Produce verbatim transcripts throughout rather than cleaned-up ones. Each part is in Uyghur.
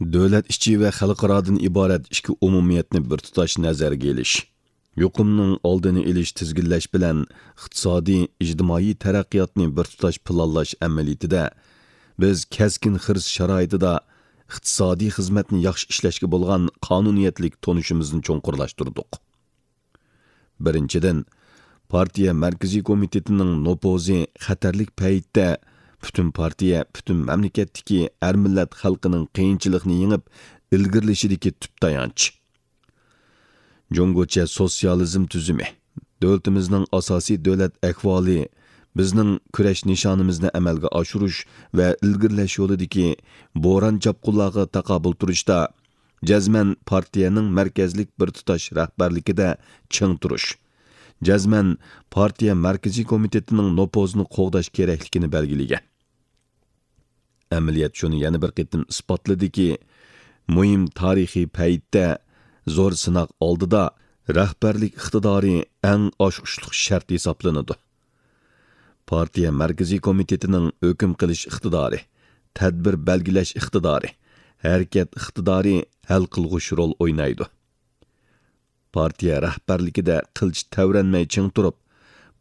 دۆلەت ئىچى ۋە خەلقئارادىن ئىبارەت ئىككى ئومۇمىيەتنى بىر تۇتاش نەزەرگە ئېلىش، يۇقۇمنىڭ ئالدىنى ئېلىش، تىزگىنلەش بىلەن ئىقتىسادىي، ئىجتىمائىي تەرەققىياتنى بىر تۇتاش پىلانلاش ئەمەلىيىتىدە، بىز كەسكىن خىرىس شارائىتىدا ئىقتىسادىي خىزمەتنى ياخشى ئىشلەشكە بولغان قانۇنىيەتلىك تونۇشىمىزنى چوڭقۇرلاشتۇردۇق. بىرىنچىدىن، پارتىيە مەركىزىي كومىتېتىنىڭ نوپۇزى خەتەرلىك پەيتتە پۈتۈن پارتىيە، پۈتۈن مەملىكەتتىكى ھەر مىللەت خەلقىنىڭ قىيىنچىلىقنى يېڭىپ ئىلگىرىلىشىدىكى تۈپ تايانچ. جۇڭگوچە سوتسىيالىزم تۈزۈمى، دۆلىتىمىزنىڭ ئاساسىي دۆلەت ئەھۋالى بىزنىڭ كۈرەش نىشانىمىزنى ئەمەلگە ئاشۇرۇش ۋە ئىلگىرىلەش يولىدىكى بوران-چاپقۇنلارغا تاقابىل تۇرۇشتا جەزمەن پارتىيەنىڭ مەركەزلىك بىر تۇتاش رەھبەرلىكىدە چىڭ تۇرۇش، جەزمەن پارتىيە مەركىزىي كومىتېتىنىڭ نوپۇزىنى قوغداش كېرەكلىكىنى بەلگىلىگەن. ئەمەلىيەت شۇنى يەنە بىر قېتىم ئىسپاتلىدىكى، مۇھىم تارىخىي پەيتتە، زور سىناق ئالدىدا رەھبەرلىك ئىقتىدارى ئەڭ ئاچقۇچلۇق شەرت ھېسابلىنىدۇ. پارتىيە مەركىزىي كومىتېتىنىڭ ھۆكۈم قىلىش ئىقتىدارى، تەدبىر بەلگىلەش ئىقتىدارى، ھەرىكەت ئىقتىدارى ھەل قىلغۇچ رول ئوينايدۇ. پارتىيە رەھبەرلىكىدە قىلچە تەۋرەنمەي چىڭ تۇرۇپ،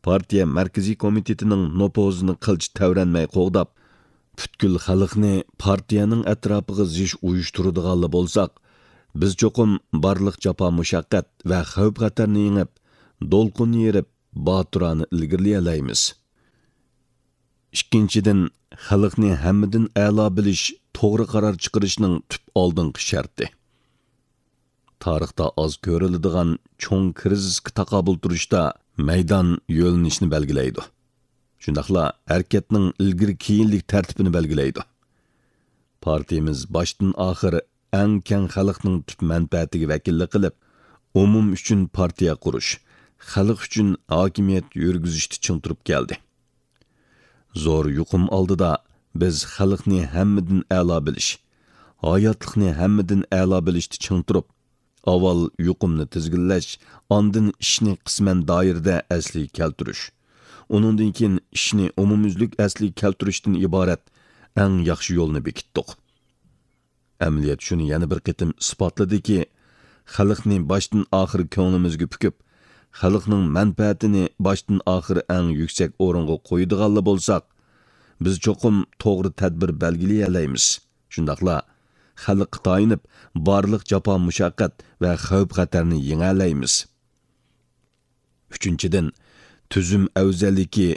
پارتىيە مەركىزىي كومىتېتىنىڭ نوپۇزىنى قىلچە تەۋرەنمەي قوغداپ، پۈتكۈل خەلقنى پارتىيەنىڭ ئەتراپىغا زىچ ئۇيۇشتۇرىدىغانلا بولساق، بىز چوقۇم بارلىق جاپا-مۇشەققەت ۋە خەۋپ-خەتەرنى يېڭىپ، دولقۇن يېرىپ، باتۇرانە ئىلگىرىلىيەلەيمىز. ئىككىنچىدىن، خەلقنى ھەممىدىن ئەلا بىلىش توغرا قارار چىقىرىشنىڭ تۈپ ئالدىنقى شەرتى. تارىختا ئاز كۆرۈلىدىغان چوڭ كىرىزىسقا تاقابىل تۇرۇشتا مەيدان يۆنىلىشىنى بەلگىلەيدۇ. شۇنداقلا ھەرىكەتنىڭ ئىلگىرى-كېيىنلىك تەرتىپىنى بەلگىلەيدۇ. پارتىيىمىز باشتىن-ئاخىر ئەڭ كەڭ خەلقنىڭ تۈپ مەنپەئەتىگە ۋەكىللىك قىلىپ، ئومۇم ئۈچۈن پارتىيە قۇرۇش، خەلق ئۈچۈن ھاكىمىيەت يۈرگۈزۈشتە چىڭ تۇرۇپ كەلدى. زور يۇقۇم ئالدىدا بىز خەلقنى ھەممىدىن ئەلا بىلىش، ھاياتلىقنى ھەممىدىن ئەلا بىلىشتە چىڭ تۇرۇپ، ئاۋۋال يۇقۇمنى تىزگىنلەش، ئاندىن ئىشنى قىسمەن دائىرىدە ئەسلىگە كەلتۈرۈش، ئۇنىڭدىن كېيىن ئىشنى ئومۇميۈزلۈك ئەسلىگە كەلتۈرۈشتىن ئىبارەت ئەڭ ياخشى يولنى بېكىتتۇق. ئەمەلىيەت شۇنى يەنە بىر قېتىم ئىسپاتلىدىكى، خەلقنى باشتىن-ئاخىر كۆڭلىمىزگە پۈكۈپ، خەلقنىڭ مەنپەئەتىنى باشتىن-ئاخىر ئەڭ يۈكسەك ئورۇنغا قويىدىغانلا بولساق، بىز چوقۇم توغرا تەدبىر بەلگىلىيەلەيمىز. شۇنداقلا خەلققە تايىنىپ، بارلىق جاپا-مۇشەققەت ۋە خەۋپ-خەتەرنى يېڭەلەيمىز. ئۈچىنچىدىن، تۈزۈم ئەۋزەللىكى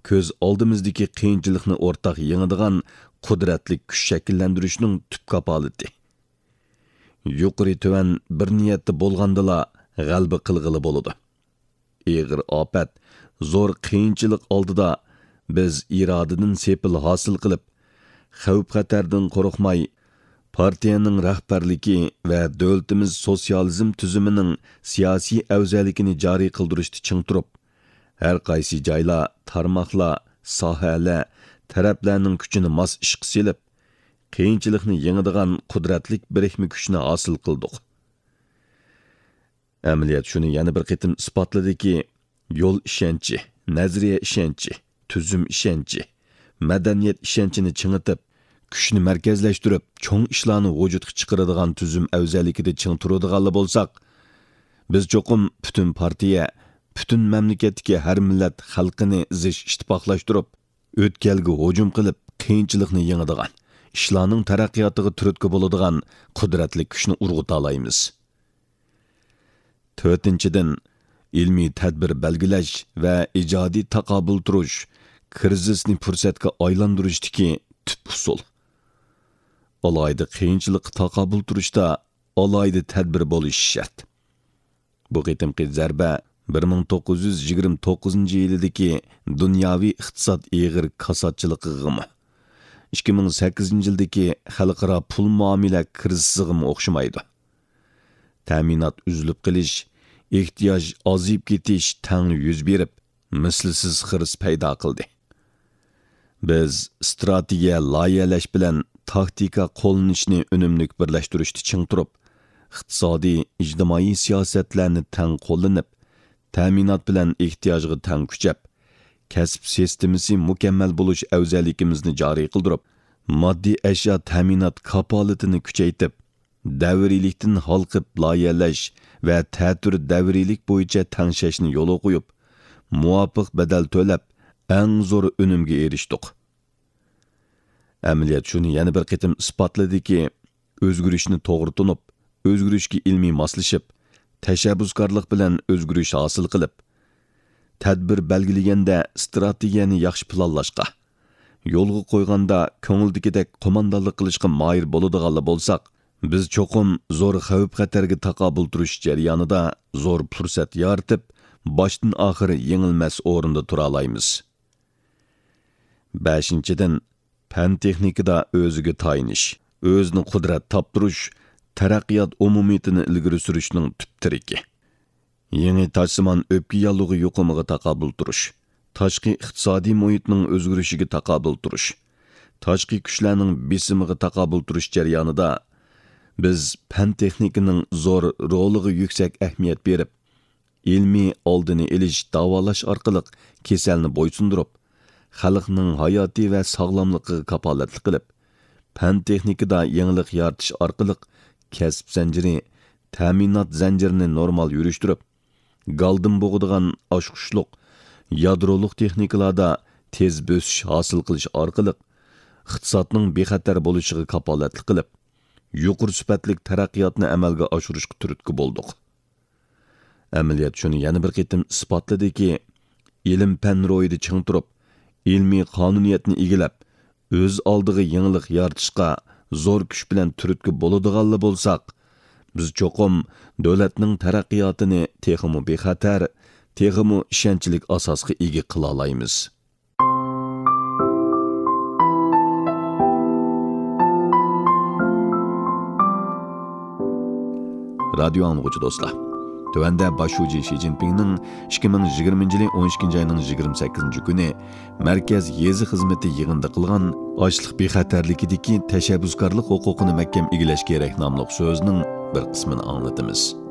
كۆز ئالدىمىزدىكى قىيىنچىلىقنى ئورتاق يېڭىدىغان قۇدرەتلىك كۈچ شەكىللەندۈرۈشنىڭ تۈپ كاپالىتى. يۇقىرى تۆۋەن بىر نىيەتتە بولغاندىلا غەلىبە قىلغىلى بولىدۇ. ئېغىر ئاپەت، زور قىيىنچىلىق ئالدىدا بىز ئىرادىدىن سېپىل ھاسىل قىلىپ، خەۋپ-خەتەردىن قورقماي، پارتىيەنىڭ رەھبەرلىكى ۋە دۆلىتىمىز سوتسىيالىزم تۈزۈمىنىڭ سىياسىي ئەۋزەللىكىنى جارى قىلدۇرۇشتا چىڭ تۇرۇپ، ھەر قايسى جايلار، تارماقلار، ساھەلەر، تەرەپلەرنىڭ كۈچىنى ماس ئىشقا سېلىپ، قىيىنچىلىقنى يېڭىدىغان قۇدرەتلىك بىرىكمە كۈچنى ھاسىل قىلدۇق. ئەمەلىيەت شۇنى يەنە بىر قېتىم ئىسپاتلىدىكى، يول ئىشەنچى، نەزەرىيە ئىشەنچى، تۈزۈم ئىشەنچى، مەدەنىيەت ئىشەنچىنى چىڭىتىپ، كۈچنى مەركەزلەشتۈرۈپ، چوڭ ئىشلارنى ۋۇجۇدقا چىقىرىدىغان تۈزۈم ئەۋزەللىكىدە چىڭ تۇرىدىغانلا بولساق، بىز چوقۇم پۈتۈن پارتىيە، پۈتۈن مەملىكەتتىكى ھەر مىللەت خەلقىنى زىچ ئىتتىپاقلاشتۇرۇپ، ئۆتكەلگە ھۇجۇم قىلىپ، قىيىنچىلىقنى يېڭىدىغان، ئىشلارنىڭ تەرەققىياتىغا تۈرتكە بولىدىغان قۇدرەتلىك كۈچنى ئۇرغۇتالايمىز. تۆتىنچىدىن، ئىلمىي تەدبىر بەلگىلەش ۋە ئىجادىي تاقابىل تۇرۇش، كىرىزىسنى پۇرسەتكە ئايلاندۇرۇشتىكى تۈپ ئۇسۇل. ئالاھىدە قىيىنچىلىققا تاقابىل تۇرۇشتا ئالاھىدە تەدبىر بولۇشى شەرت. بۇ قېتىمقى زەربە بىر مىڭ توققۇز يۈز يىگىرمە توققۇزىنچى يىلىدىكى دۇنياۋى ئىقتىساد ئېغىر كاساتچىلىقىغىمۇ، ئىككى مىڭ سەككىزىنچى يىلدىكى خەلقئارا پۇل مۇئامىلە كىرىزىسىغىمۇ ئوخشىمايدۇ. تەمىنات ئۈزۈلۈپ قېلىش، ئېھتىياج ئازىيىپ كېتىش تەڭلا يۈز بېرىپ، مىسلىسىز خىرىس پەيدا قىلدى. بىز ئىستراتېگىيە لايىھەلەش بىلەن تاكتىكا قوللىنىشنى ئۈنۈملۈك بىرلەشتۈرۈشتە چىڭ تۇرۇپ، ئىقتىسادىي، ئىجتىمائىي سىياسەتلەرنى تەڭ قوللىنىپ، تەمىنات بىلەن ئېھتىياجغا تەڭ كۈچەپ، كەسىپ سىستېمىسى مۇكەممەل بولۇش ئەۋزەللىكىمىزنى جارى قىلدۇرۇپ، ماددىي ئەشيا تەمىنات كاپالىتىنى كۈچەيتىپ، دەۋرىيلىكتىن ھالقىپ لايىھەلەش ۋە تەتۈر دەۋرىيلىك بويىچە تەڭشەشنى يولغا قويۇپ، مۇۋاپىق بەدەل تۆلەپ، ئەڭ زور ئۈنۈمگە ئېرىشتۇق. ئەمەلىيەت شۇنى يەنە بىر قېتىم ئىسپاتلىدىكى، ئۆزگىرىشنى توغرا تونۇپ، ئۆزگىرىشكە ئىلمىي ماسلىشىپ، تەشەببۇسكارلىق بىلەن ئۆزگىرىش ھاسىل قىلىپ، تەدبىر بەلگىلىگەندە ئىستراتېگىيەنى ياخشى پىلانلاشقا، يولغا قويغاندا كۆڭۈلدىكىدەك قوماندانلىق قىلىشقا ماھىر بولىدىغانلا بولساق، بىز چوقۇم زور خەۋپ-خەتەرگە تاقابىل تۇرۇش جەريانىدا زور پۇرسەت يارىتىپ، باشتىن ئاخىر يېڭىلمەس ئورۇندا تۇرالايمىز. بەشىنچىدىن، پەن-تېخنىكىدا ئۆزىگە تايىنىش، ئۆزىنى قۇدرەت تاپتۇرۇش، تەرەققىيات ئومۇمىيىتىنى ئىلگىرى سۈرۈشنىڭ تۈپ تىرىكى. يېڭى تاشسىمان ئۆپكە ياللۇغى يۇقۇمىغا تاقابىل تۇرۇش، تاشقى ئىقتىسادىي مۇھىتنىڭ ئۆزگىرىشىگە تاقابىل تۇرۇش، تاشقى كۈچلەرنىڭ بېسىمىغا تاقابىل تۇرۇش جەريانىدا بىز پەن-تېخنىكىنىڭ زور رولىغا يۈكسەك ئەھمىيەت بېرىپ، ئىلمىي ئالدىنى ئېلىش، داۋالاش ئارقىلىق كېسەلنى بويسۇندۇرۇپ، خەلقنىڭ ھاياتى ۋە ساغلاملىقىغا كاپالەتلىك قىلىپ، پەن-تېخنىكىدا يېڭىلىق يارىتىش ئارقىلىق كەسىپ زەنجىرى، تەمىنات زەنجىرىنى نورمال يۈرۈشتۈرۈپ، گالدىن بوغىدىغان ئاچقۇچلۇق، يادرولۇق تېخنىكىلاردا تېز بۆسۈش ھاسىل قىلىش ئارقىلىق، ئىقتىسادنىڭ بىخەتەر بولۇشىغا كاپالەتلىك قىلىپ، يۇقىرى سۈپەتلىك تەرەققىياتنى ئەمەلگە ئاشۇرۇشقا تۈرتكە بولدۇق. ئەمەلىيەت شۇنى يەنە بىر قېتىم ئىسپاتلىدىكى، ئىلىم-پەن روھىدا چىڭ تۇرۇپ، ئىلمىي قانۇنىيەتنى ئىگىلەپ، ئۆز ئالدىغا يېڭىلىق يارىتىشقا زور كۈچ بىلەن تۈرتكە بولىدىغانلا بولساق، بىز چوقۇم دۆلەتنىڭ تەرەققىياتىنى تېخىمۇ بىخەتەر، تېخىمۇ ئىشەنچلىك ئاساسقا ئىگە قىلالايمىز. رادىيو ئاڭلىغۇچى دوستلار، تۆۋەندە باش شۇجى شى جىنپىڭنىڭ ئىككى مىڭ يىگىرمىنچى يىلى ئون ئىككىنچى ئاينىڭ يىگىرمە سەككىزىنچى كۈنى مەركەز يېزا خىزمىتى يىغىنىدا قىلغان ئاشلىق بىخەتەرلىكىدىكى تەشەببۇسكارلىق ھوقۇقىنى مەھكەم ئىگىلەش كېرەك ناملىق سۆزىنىڭ بىر قىسمىنى ئاڭلىتىمىز.